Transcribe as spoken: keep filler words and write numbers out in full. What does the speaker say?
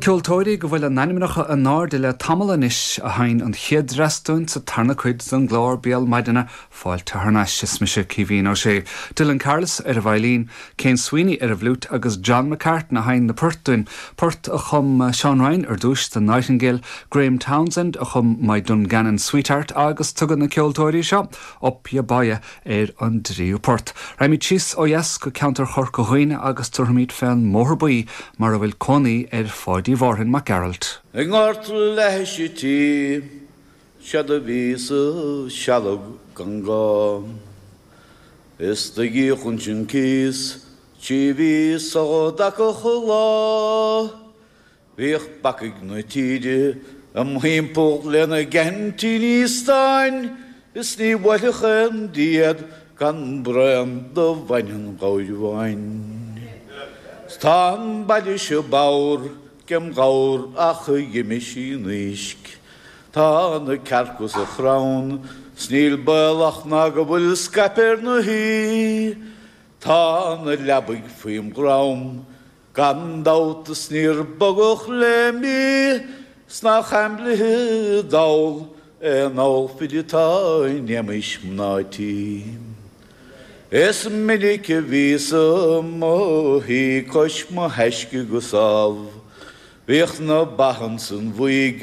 Ceoltóirí go bhfuil a n-ainmneacha in airde le tamall anois a sheinn an chéad dreas dúinn sa tarna cuid den gclár Béal Maidine fáilte thar n-ais is mise Caoimhín Ó Sé. Dylan Carless ar an veidhlín, Cian Sweeney ar an bhfliúit agus John McCartan a sheinn na poirt dúinn, port a chum Seán Ryan ar dtús The Nightingale, Graham Townsend a chum My Dungannon Sweetheart agus tugann na ceoltóirí seo Up Ya Boya ar an dtríú port. Raghaimid síos ó dheas go ceantar Chorca Dhuibhne agus tabharfaimid fén mBóthar Buí mar a bhfuil cónaí ar Pháidí Mhárthain Mac Gearailt. I ngort leithisí tí sead a bhí sa sealg gan gá. Is do dhíochun sin cíos trí mhí sa dtaca lá. Bhíodh bacaigh na tíre im thimpeall lena gceaintíní stáin, is ní bhuailfeadh aon diad gan braon de bhainne an ghabhair bháin. Tá an baile seo bodhar gem ghabhar ach a d'imigh sí in uisce. Tá na cearca sa chrann, 's níl baolach ná go bhfuil scaip ar na haoi. Tá na leabaidh faoim dhrom, gan dabht is níor bogadh le mí, 's nach aimblithe dall é an ólfaid atá in éamais mná tí. Is minic a bhíos i mo shuí cois mo thaisce go sámh, Bhíodh na ba ansan bhuígh